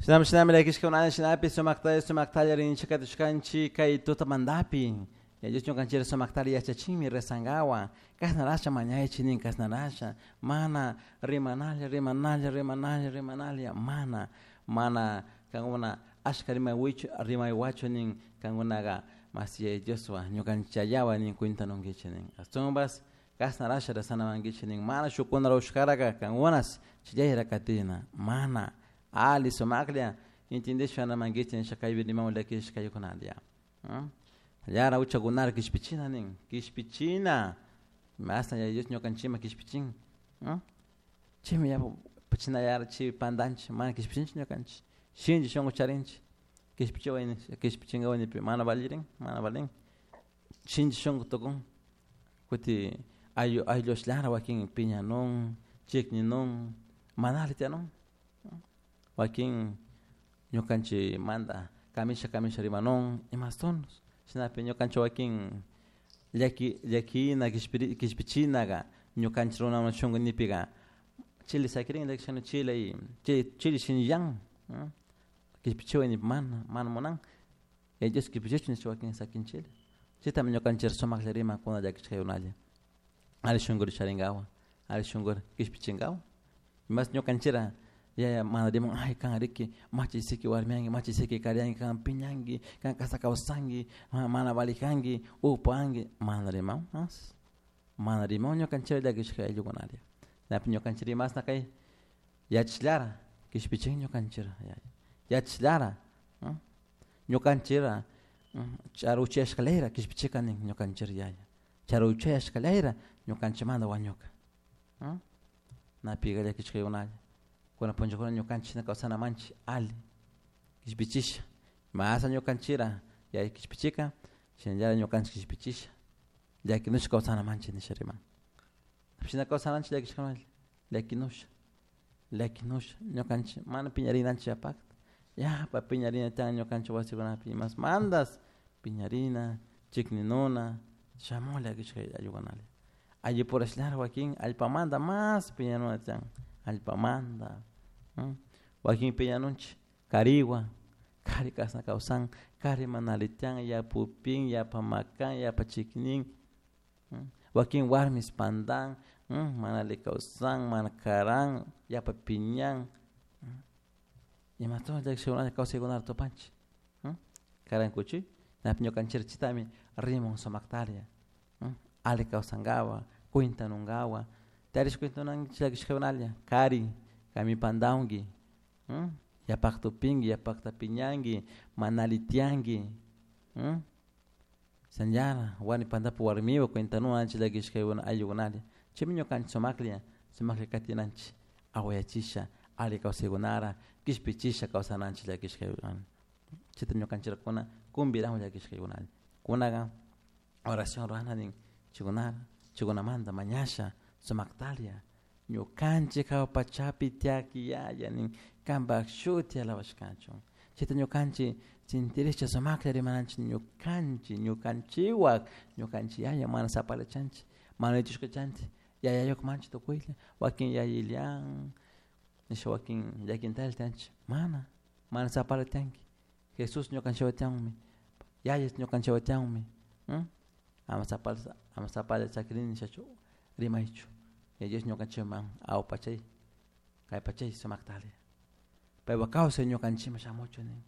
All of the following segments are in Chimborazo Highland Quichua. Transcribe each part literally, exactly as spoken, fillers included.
Shinami shinami llakishkuna shinapi sumaktalla sumaktalla rinchik katushkanchik kay tutamantapi Dios ñukanchik sumaktalla yachachinmi rezankawan kashnarasha mañaychik nin kashnarasha mana rimanalla rimanalla rimanalla rimanalla mana mana kankuna ashka rimaywichu rimaywachu nin kankunaka mas Yaya Dioswan ñukanchik Yayawan nin cuentanunkichik nin ashtawanpas kashnarasha rezanamankichik nin mana shukkuna rurashkaraka kankunas chayra katina mana ali sumaklla entendishpa namankichik nisha kaypi rimamun llakishka kaykunalla Llara uchakunara kishpichina nin kishpichina mashna Yaya Dios ñukanchikman kishpichin chaymi yapa chinallara chay pantanchik mana kishpichinchik ñukanchik shinchi shunku charinchik kishpichiway kishpichinkawan nipi mana valirin mana valin shinchi shunku tukun kuti ayllu ayllushllara wakin piñanun chikninun mana alli tiyanun wakin ñukanchik manta kamisha kamisha rimanun imastonos shinapi ñukanchik wakin llaki llakina kishpiri kishpichinaka ñukanchik runaman shunku nipika chile sakirin llakishkani chile y chile shinllan kishpichiway nipi mana mana munan Yaya Dios kishpichichun nishpa wakin sakinchila chaytami ñukanchik sumaklla riman kuna llakishkaykunalla alli shunkuri charinkawan alli shunkuri kishpichinkawan mas ñukanchikra yaya mana riman ay kan riki machisiki warmiyanki machisiki kariyanki kan piñanki kan kasa kawsanki mana valijanki upanki mana riman mas mana riman ñukanchik llakishka ayllukunalla napi ñukanchik rimasna kay yachashlara kishpichin ñukanchik yachashlara ñukanchikra charuchayashkalayra kishpichika nin ñukanchik yaya charuchayashkalayra ñukanchikmanta wañuka napiga llakishkaykunalla kuna punllakuna ñukanchik kawsanamanchik alli kishpichisha masa ñukanchikra yaya kishpichika shinallara ñukanchik kishpichisha llakinusha kawsanamanchik nisha riman shina kawsananchik llakishkakunalla llakinusha llakinusha ñukanchik mana piñarinanchik yapakta yapa piñarina tiyan ñukanchik wasikunapi imas mandas piñarina chikninuna shamun llakishka ayllukunalla allipurashlara wakin allpamanta mas piñanuna tiyan allpamanta wakin piñanunchik kariwan kari kashna kawsan kari mana alli tiyan yapupin yapa makan yapa chiknin wakin warmis pantan mana alli kawsan mana karan yapa piñan imatowan llakishkakunalla kawsaykunata tupanchik karankuchi napi ñukanchik chaytami rimun sumaktalla alli kawsankapak cuentanunkawan tarish cuentanunchik llakishkakunalla kari kami pantawanki yapakta upinki yapakta piñanki mana alli tiyanki shinallara warmi pantapi warmiwan cuentanunchik llakishkakuna ayllukunalla chaymi ñukanchik sumaklla sumaklla katinanchik awayachisha alli kawsaykunara kishpichisha kawsananchik llakishkakuna chayta ñukanchikuna kumbiramun llakishkaykunalla kunaka oración rurana nin chaykunara chaykunamanta mañasha sumaktalla ñukanchik hawa pachapi tiyak yaya nin kanpak shuti alabashkachun chayta ñukanchik sintirisha sumaklla rimananchik ñukanchik ñukanchikwak ñukanchik yaya mana sapalachanchik mana ichushkachanchik yayayuk manchik tukuylla wakin yayillan nisha wakin llakintalla tiyanchik mana mana sapala tiyanki Jesús ñukanchikwan tiyanmi yaya ñukanchikwan tiyanmi ama sapala ama sapala sakirini nishachu rimaychu Yaya Dios ñukanchikman awa pachay kay pachay sumaktalla paypak kawsay ñukanchikman shamuchun nin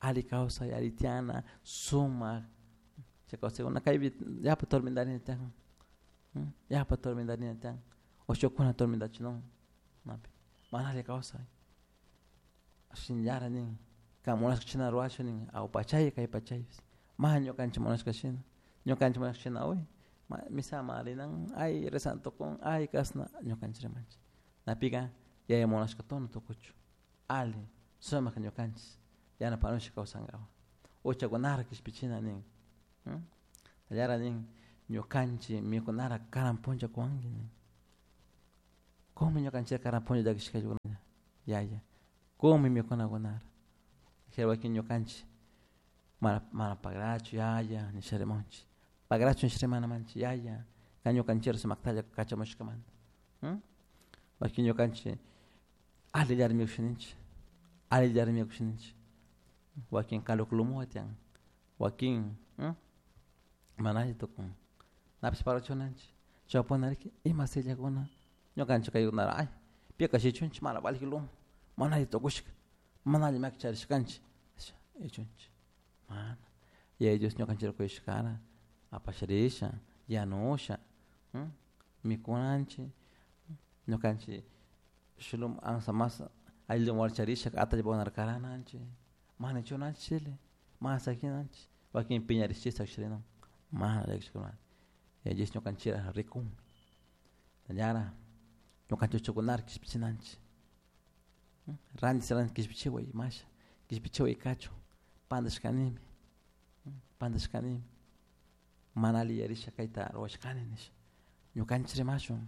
alli kawsay alli tiyana sumak chay kawsaykuna kaypi yapa tormentarina tiyan yapa tormentarina tiyan o shukkuna tormentachinun napi mana alli kawsay shinallara nin kan munashka shina rurashun nin awa pachay kay pachaypish mana ñukanchik munashka shina ñukanchik munashka shina uy misaman rinan ay rezan tukun ay kashna ñukanchik rimanchik napika yaya munashka tono tukuchun alli sumak ñukanchik yanapanusha kawsankapak uchakunara kishpichina nin allara nin ñukanchik mikunara karan punlla kuwanki nin kunmi ñukanchik karan punlla llakishkaykunalla yaya kunmi mikunakunara wakin ñukanchik mana mana pagrachu yaya nisha rimanchik pagrachu nisha rimanamanchik yaya kan ñukanchik sumaktalla kachamushkamanta wakin ñukanchik allillara mikusha ninchik Allillari mikushninchik wakin kaluklumu tiyan wakin mana alli tukun napish parlachunanchik chaypunariki ima sillakuna ñukanchik kaykunara ay pika shichunchik mana valij lumo mana alli tukushka mana alli maki charishkanchik ichunchik mana Yaya Dios ñukanchikta kuyashkara apasharisha yanusha mikunanchik ñukanchik shuk lumo amsa mas alli lumo charisha atallpakunata karananchik mana chunanchik chile mana sakinanchik wakin piñarishchik sakisharinun mana llakishkuna Yaya Dios ñukanchikta rikun ñara ñukanchik uchukunara kishpichinanchik ranti ranti kishpichiway imasha kishpichiway kachun pantashkanimi pantashkanimi mana alli yarisha kayta ruwashkani nisha ñukanchik rimashun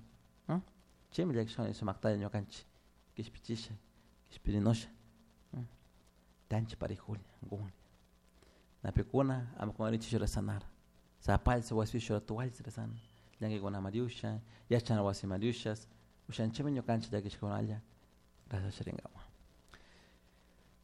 chaymi llakishkani sumaktalla ñukanchik kishpichisha kishpirinusha tanchik parejulla kunlla napikuna ama kungarinchik rezanara sapalli wasipi ratualli rezana llankaykunaman riusha yachana wasiman riusha ushanchikmi ñukanchik llakishkakunalla rezasharinkapak.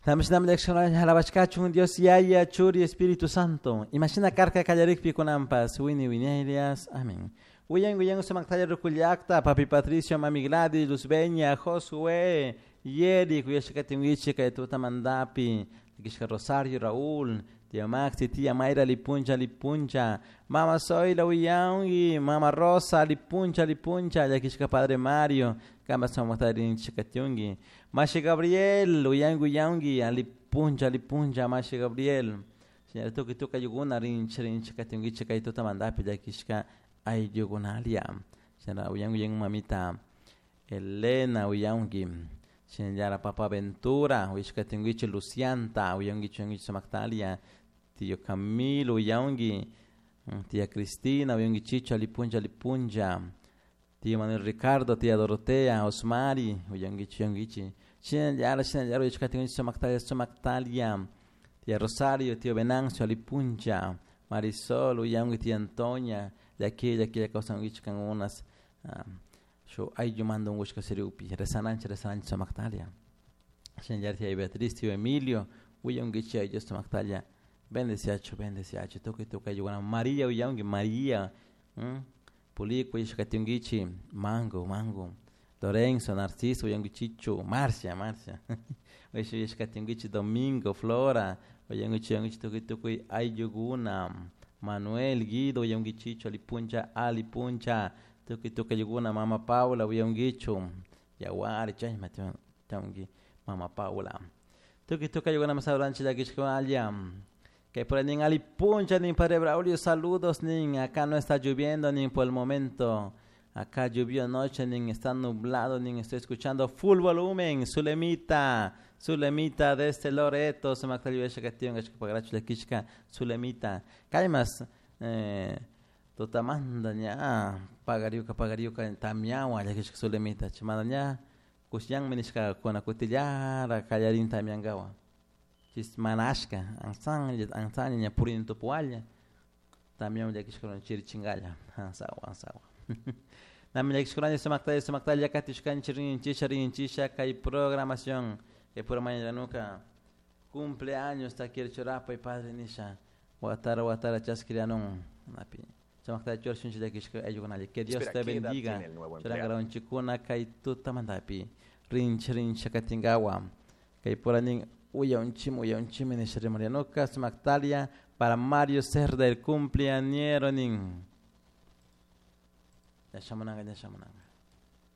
Shinami llakishkakunalla alabashkachun Dios Yaya, Churi, Espíritu Santo. Imashina karka kallarikpi kunanpas wini wiñaylias. Amén. Wiyan wiyan sumaktalla rukullakta, papi Patricio, mami Gladys, Luzbeña, Josué, Yeri, kuyashkatinwichi kay tutamantapi, llakishka Rosario, Raúl, tía Maxi, tía Mayra, lipuncha, lipuncha, mama Zoila, wiyangi, mama Rosa, lipuncha, lipuncha, llakishka padre Mario, kama sumakta Mashi Gabriel, uyangi, uyangi, alipuncha, lipuncha, Mashi Gabriel. Señora, tukuy tukuy ayllukuna rinchi, rinchi katinkichik kay tutamantapi llakishka ayllukunalia. Señora, uyangi, uyangi, mamita Elena, uyangi. Señora, papa Ventura, uyashkatinkichik Lucianta, uyangi, uyangi, sumaktalia. Tío Camilo, uyangi. Tía Cristina, uyangi, Chicho, alipuncha, lipuncha. Tío Manuel Ricardo, tía Dorotea, Osmari, uyangichi, uyangichi. Shinallara, shinallara, uyashkatinkichik sumaktalia, sumaktalia. Tía Rosario, tío Venancio, alipuncha. Marisol, uyangi, tía Antonia, llaki, llaki, kawsankichik kankunas. Shuk ayllumanta unkushka siriupi, rezananchik, rezananchik sumaktalia. Shinallara, tía Beatriz, tío Emilio, uyankichik Dios sumaktalia. Bendeciachu, bendeciachu, tukuy tukuy ayllukuna. María, uyangi, María. Pulico, uyashkatinkichik, Mango, Mango. Lorenzo, Narciso, uyankichichu, Marcia, Marcia. Uyashkatinkichik, Domingo, Flora, uyankichik, uyankichik, tukuy tukuy ayllukuna. Manuel, Guido, uyankichichu, alipuncha, alipuncha. Tukuy tukuy ayllukuna, Mama Paula, uyankichu. Yawari, chayma tiyanki, Mama Paula. Tukuy tukuy ayllukuna masaduranchik llakishkunalla. Que por nin alipuncha nin Padre Braulio, saludos nin, acá no está lloviendo nin por el momento. Acá llovió anoche, nin está nublado, nin estoy escuchando full volumen, Zulemita, Zulemita desde Loreto, Zulemita. Kaymas, eh, tutamanta ña pagariuka pagariuka tamiawan llakishka Zulemita, chimana ña kusyanmi nishkakuna kutillara kallarin tamiankawan. Chis mana ashka, ansanlla, ansanlla ña purini tupuwalla, tamiawan llakishkuna chirichinkalla, ansawa, ansawa. Nami llakishkunalla sumaktalla, sumaktalla katishkanchik rinchisha, rinchisha kay programación, kay pura mañananuka cumpleaños takirchurapay padre nisha, watara watara chaskirianun, napi. Sumaktalla churashunchik llakishka ayllukunalla, que Dios Espera, te ¿qué edad bendiga. tiene el nuevo empleado? Churankaranchikuna kay tutamantapi, rinchi rincha katinkawa, kay pura nin uyaunchimi uyaunchimi nisha rimarianuka sumaktalia para Mario Cerda el cumpleañero nin. Ya shamunanga, ya shamunanga.